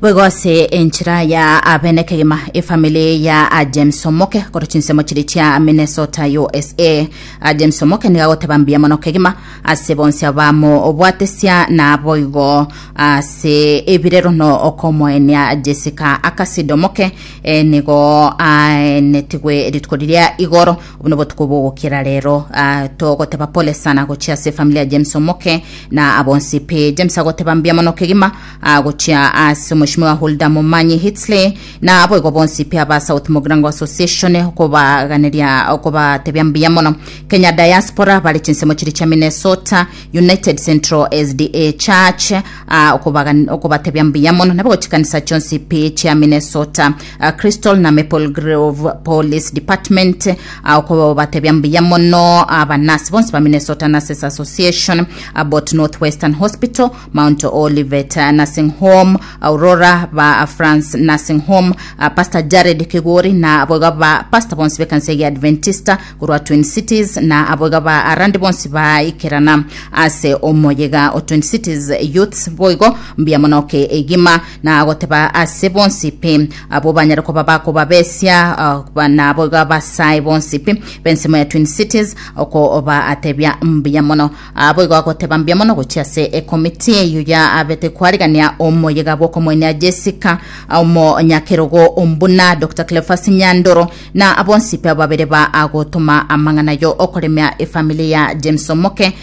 Boigo ase enchera ya abene kegima efamily ya ah, James Omoke korwa chinsemo chiri chia Minnesota USA. Ah, James Omoke nigo agoteba mbuya mono kegima ase bonsi abamobwatesia na boigo ase ebirero no okomoenia Jessica Akasido Omoke eh, nigo aenetigwe rituko riria igoro obo nobotuko bogokira rero ah, togoteba pole sana gochia ase efamily ya James Omoke na abonsi pi James agoteba mbuya mono kegima ah, gochia ase Omweshimiwa Hulda Momanyi Hitsley na aboigo bonsi pi aba South Mugirango Association okobaganeria okobatebia mbuya mono Kenya Diaspora bare chinsemo chiri chia Minnesota United Central SDA Church ah, okobagan- okobatebia mbuya mono nabo chikanisa chionsi pi chia Minnesota ah, Crystal na Maple Grove Police Department ah, okobatebia mbuya mono abanasi bonsi ba Minnesota Nurses Association Abbott Northwestern Hospital Mount Olivet Nursing Home, Aurora ba France Nursing Home, ah, Pastor Jared Kigori na aboiga ba pastor bonsi b'ekanisa ya Adventista korwa Twin Cities na aboiga ba arandi bonsi baikerana ase omoyega o Twin Cities Youths boigo mbuya mono ke egima na goteba ase bonsi pi abo banyare koba bakobabesia ah, ba- na aboiga abasae bonsi pi b'ensemo ya Twin Cities okobaatebia mbuya mono Boigo agoteba mbuya mono gochia ase ekomiti eyio ya abete kwarigania omoyega bw'okomoenia Jessica omonyakerogo ombuna Dr. Cleophas Nyandoro na abonsi pe babere ba agotoma amang'ana yo okoremia efamily ya James Omoke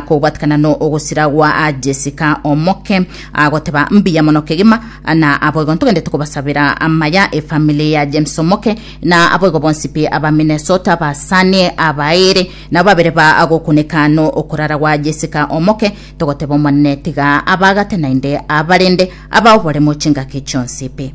kobwatikana no ogosira gwa Jessica Omoke agoteba mbuya mono kegima na aboigo ntogendete kobasabera amaya efamily ya James Omoke na aboigo bonsi pi aba Minnesota basanie abaere Nabo babere ba agokuneka no okorara gwa Jessica omoke, togoteba Omonene tiga abagate naende abarende abaoboremo chingaki chionsi pi.